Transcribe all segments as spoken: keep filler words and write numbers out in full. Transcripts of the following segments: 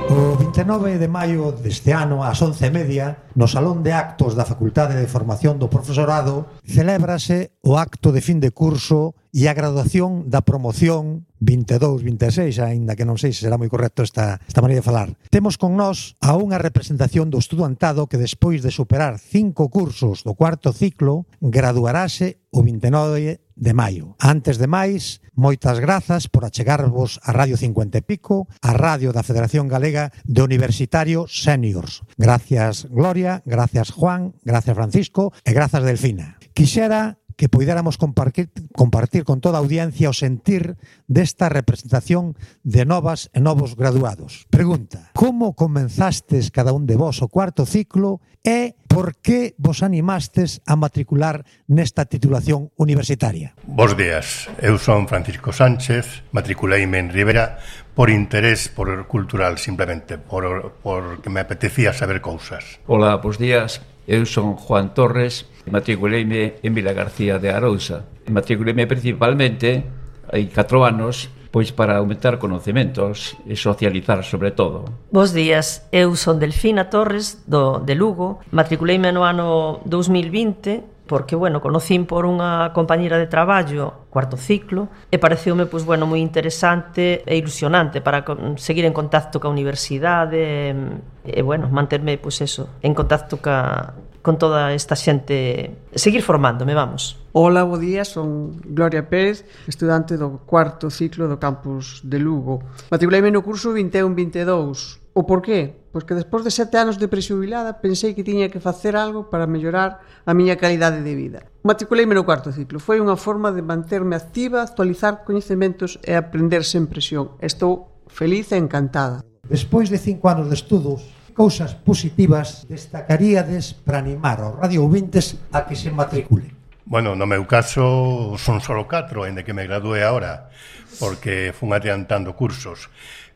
O vinte e nove de maio deste ano, ás once e media, no Salón de Actos da Facultade de Formación do Profesorado, celébrase o acto de fin de curso e a graduación da promoción vinte e dous vinte e seis, aínda que non sei se será moi correcto esta, esta maneira de falar. Temos con nós a unha representación do estudantado que despois de superar cinco cursos do cuarto ciclo, graduarase o vinte e nove de maio. Antes de máis, moitas grazas por achegarvos a Radio cincuenta e pico, a radio da Federación Galega de Universitarios Seniors. Gracias, Gloria, gracias, Juan, gracias, Francisco e grazas, Delfina. Quixera que puidéramos compartir, compartir con toda a audiencia o sentir desta representación de novas e novos graduados. Pregunta: como comenzastes cada un de vos o cuarto ciclo e por que vos animastes a matricular nesta titulación universitaria? Bos días, eu son Francisco Sánchez, matriculeime en Ribera por interés por cultural, simplemente, por, por que me apetecía saber cousas. Hola, bos días. Eu son Juan Torres, matriculeime en Vilagarcía de Arousa. Matriculeime principalmente, hai catro anos, pois para aumentar conhecementos e socializar sobre todo. Bos días, eu son Delfina Torres, do, de Lugo. Matriculeime no ano dous mil vinte, porque, bueno, conocín por unha compañera de traballo, cuarto ciclo, e pareceume, pois, bueno, moi interesante e ilusionante para seguir en contacto ca universidade e, bueno, manterme, pois, eso, en contacto ca, con toda esta xente, seguir formándome, vamos. Hola, bo día, son Gloria Pérez, estudante do cuarto ciclo do campus de Lugo. Matriculeime no curso vinte e un vinte e dous. O por qué? Pois que despois de sete anos de prexubilada pensei que tiña que facer algo para mellorar a miña calidade de vida. Matriculeime no cuarto ciclo. Foi unha forma de manterme activa, actualizar coñecementos e aprender sen presión. Estou feliz e encantada. Despois de cinco anos de estudos, cousas positivas destacaríades para animar aos radioouvintes a que se matriculen? Bueno, no meu caso son solo catro, ainda que me gradué agora, porque fun adiantando cursos.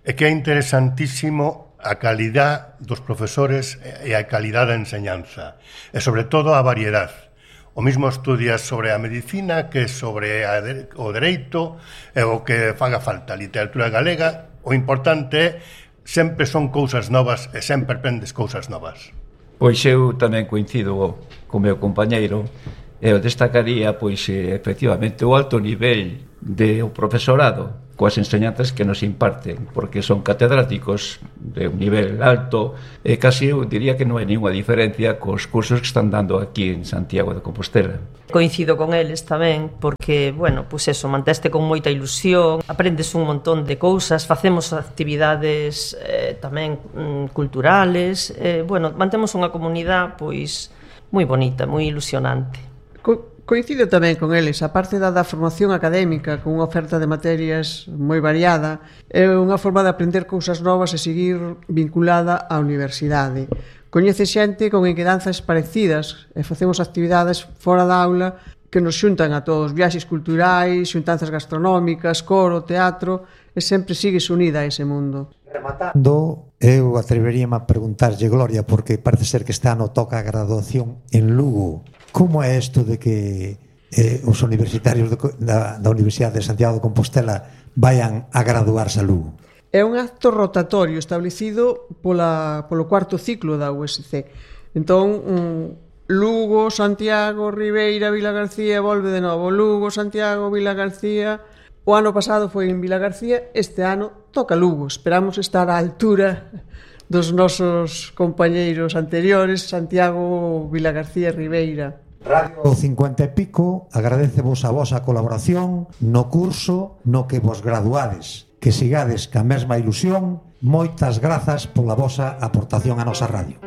É que é interesantísimo a calidad dos profesores e a calidad da enseñanza, e sobre todo a variedade. O mismo estudias sobre a medicina que sobre a de, o dereito e o que faga falta, a literatura galega. O importante é sempre son cousas novas e sempre aprendes cousas novas. Pois eu tamén coincido co meu compañeiro. Eu destacaría, pois, efectivamente, o alto nivel do profesorado coas enseñanzas que nos imparten, porque son catedráticos de un nivel alto e casi eu diría que non hai ninguna diferencia cos cursos que están dando aquí en Santiago de Compostela. Coincido con eles tamén, porque, bueno, pois eso, manteste con moita ilusión, aprendes un montón de cousas, facemos actividades eh, tamén mm, culturales, eh, bueno, mantemos unha comunidade, pois, moi bonita, moi ilusionante. Co coincido tamén con eles, a parte da, da formación académica con unha oferta de materias moi variada, é unha forma de aprender cousas novas e seguir vinculada á universidade. Coñece xente con inquedanzas parecidas e facemos actividades fora da aula que nos xuntan a todos, viaxes culturais, xuntanzas gastronómicas, coro, teatro, e sempre sigues unida a ese mundo. Rematando, eu atreveríame a preguntarlle, Gloria, porque parece ser que este ano toca a graduación en Lugo. Como é isto de que eh, os universitarios de, da, da Universidade de Santiago de Compostela vayan a graduarse a Lugo? É un acto rotatorio establecido pola, polo cuarto ciclo da U S C. Entón, um, Lugo, Santiago, Ribeira, Vilagarcía, volve de novo. Lugo, Santiago, Vilagarcía. O ano pasado foi en Vilagarcía, este ano toca Lugo. Esperamos estar á altura dos nosos compañeiros anteriores, Santiago, Vilagarcía e Ribeira. Radio cincuenta e pico agradecevos a vosa colaboración no curso no que vos graduades. Que sigades ca mesma ilusión. Moitas grazas pola vosa aportación á nosa radio.